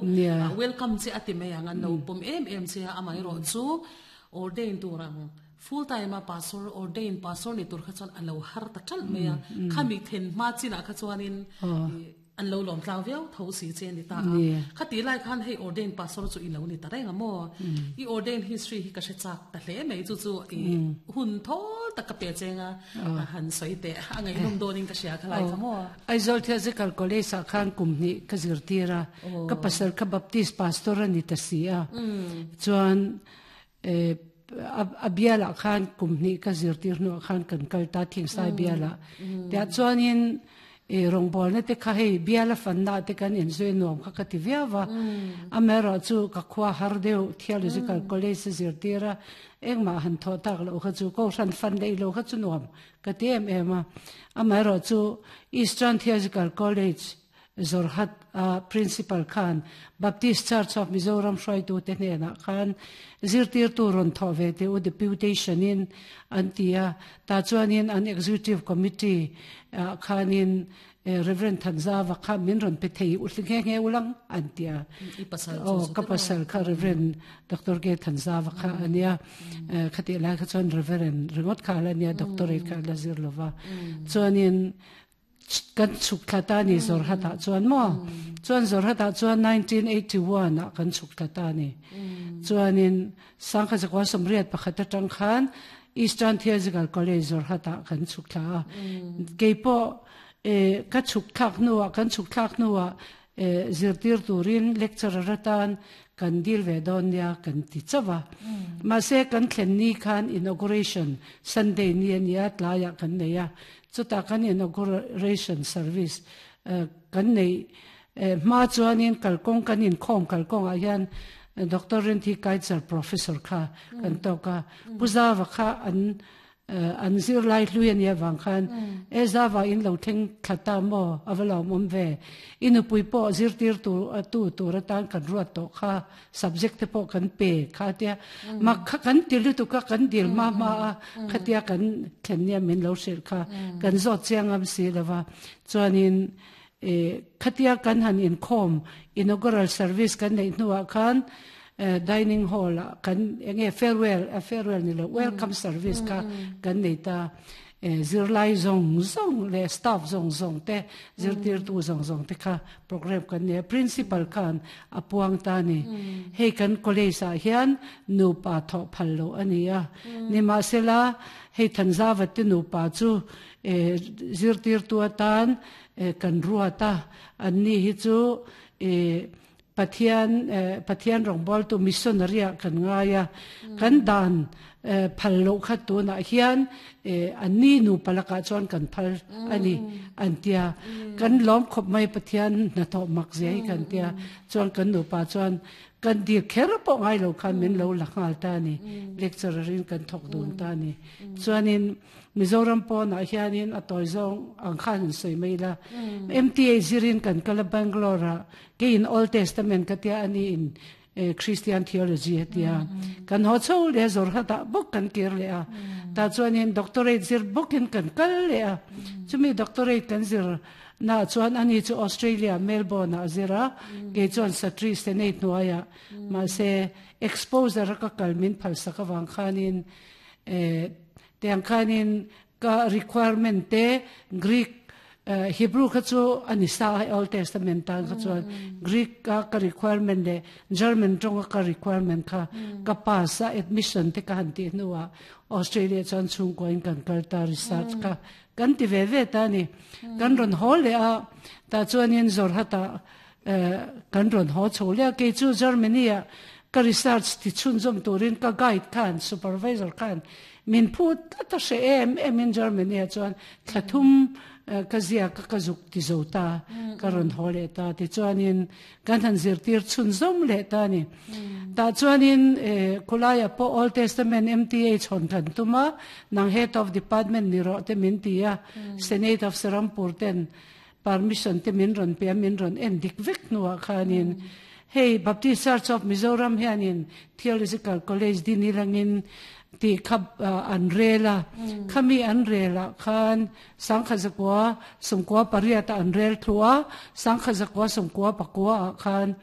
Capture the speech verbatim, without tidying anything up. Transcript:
Nia. Welcome che ati mai ang, an lo pawm em em che a. Amai ro chu ordain turang full time a pastor, ordain pastor ni tur kha chuan alo har ta tal mai a. Khami then ma china kha chuanin an lo lom tlang viau tho si che ni ta a. Nia. Khati lai khan hei ordain pastor chu ilo ni ta renga mo. I ordain history hi ka hre chak ta hle mai. Chu chu i hun thol tak ka pe chenga han soi te angai num donin ka sia khalai kha mo. Aizawl Theological College ah khan kum hnih ka zirtir a. Ka pasal kha Baptist pastor a ni ta si a. Chuan eh, a a bialah khan kum hnih ka zirtir hnuah khan kan kal ta Thingsai bialah. Tiah chuanin e rawngbawlna te kha hei biala fanna te kan inzui nuam kha ka ti viau va. Amaherawh chu ka khua har deuh, Theological College a zirtir a, engmah han thawh tak loh kha chu, ko hran fan leh lo kha chu nuam ka ti em em a. Amaherawh chu Eastern Theological College Zorhat a principal khan Baptist Church of Mizoram hruaitu te hnenah khan zirtir tu rawn thawh ve te u, deputation in an ti a. Ta chuanin an executive committee ah khanin eh, Reverend Thanzava kha min rawn pe thei u nge nge ulang an ti a. I pasal o chu ka pasal kha Reverend Doctor K Thanzava kha ania. Eh, khati lai kha chuan Reverend ringot kha la nia, doctorate kha la zir lova. Chuanin kan chuk thla ta ni Zorhata chuan mo. Chuan Zorhata chuan nineteen eighty-one ah kan chuk thla ta ni. Chuanin sangkha zakwa sawmriat pakhat atang khan Eastern Theological College Zorhata kan chuk thla a. Keipo e ka chuk thlak nuwa, kan chuk thlak nuwa e zirtir turin lecturer atan kan dil ve don nia kan ti chawa. Ma se kan thlen ni khan inauguration Sunday ni ania, tlaya kan nei a. Chuta kan inauguration service eh, kan nei eh, ma chuanin kalkong kan in khom kalkong ah hian eh, Doctor Rinthi Kaitzer professor kha kan toka. Puzawa kha an eh, an zir lai hlui ania wang khan e zawa in lo thleng thlata mo, awalo mom ve, inu pui po zir tir tu tu tur atan kan ruat to kha, subject te po kan pe kha tia ma kha kan tilu tu ka kan dil ma ma a. Khatia kan thlen nia min lo hril kha kan zo chiangam si lova. Chuanin e khatia kan han in khom inaugural service kan nei hnuah khan eh, dining hall ah kan enge farewell a farewell ni lo, welcome service kha kan nei ta. eh, zirlai zong zong le staff zong zong te, zirtir tu zong zong te kha program kan ne. Principal khan apuang ta ni, hei kan college ah hian nu pa tho phal lo ani a ni. Ma sela hei Thanzawa te nu pa chu eh, zirtir tu atan eh, kan ruata. An ni hi chu eh, Pathian eh, Pathian rongbol tu missionary ah kan ngaya. Kan dan eh, phal lo kha tu na hian eh, an ni nu palaka chuan kan phal ani an tia. Kan lom khop mai, Pathian na tho mak ze hi kan tia. Chuan kan nu pa chuan kan dir kher po ngai lo khan min lo la ngal ta ni. Lecturer in kan thok dun ta ni. Chuanin Mizoram po na hianin a toy zong ang khan soi mai la. M T A zirin kan kala Bangalore a, ke in Old Testament ka tia, ani in eh, Christian theology tia. Kan ho chho le zor hata bok kan kir le a. Ta chuanin doctorate zir bokin kan kal le a. Chumi doctorate kan zir na chuan ani chu Australia Melbourne a zira, ke chuan Satri Senate nuaya. Ma se exposure ka kalmin phal saka wang khanin eh tiang khanin ka requirement te Greek eh, Hebrew kha chu ani sa Old Testament ta kha chuan Greek ka ka requirement le German tong ka requirement kha ka pass a. Admission te ka han ti nuwa Australia chuan chung ko in kan kal ta, research ka kan ti ve ve ta ni. Kan ron hol le a. Ta chuan in zor hata eh, kan ron ho chho le. Ke chu Germany a ka research ti chun zom turin ka guide khan, supervisor khan min phu ta she em em in Germany a chuan thlathum eh, ka zia ka ka zuk ti zo ta. Ka ron ho le ta. Ti chuanin kan han zir tir chun zom le ta ni. Ta chuanin eh, khulaya po Old Testament M T A chon than tuma, nang head of department ni ro te min ti a. Senate of Serampur ten permission te min ron pe, min ron en dik vek nuwa khanin hei Baptist Church of Mizoram hianin Theological College dinilangin ti khap an rela. Khami an rela khan sangkha zakwa sumkwa pariata an rel thua, sangkha zakwa sumkwa pakwa khan.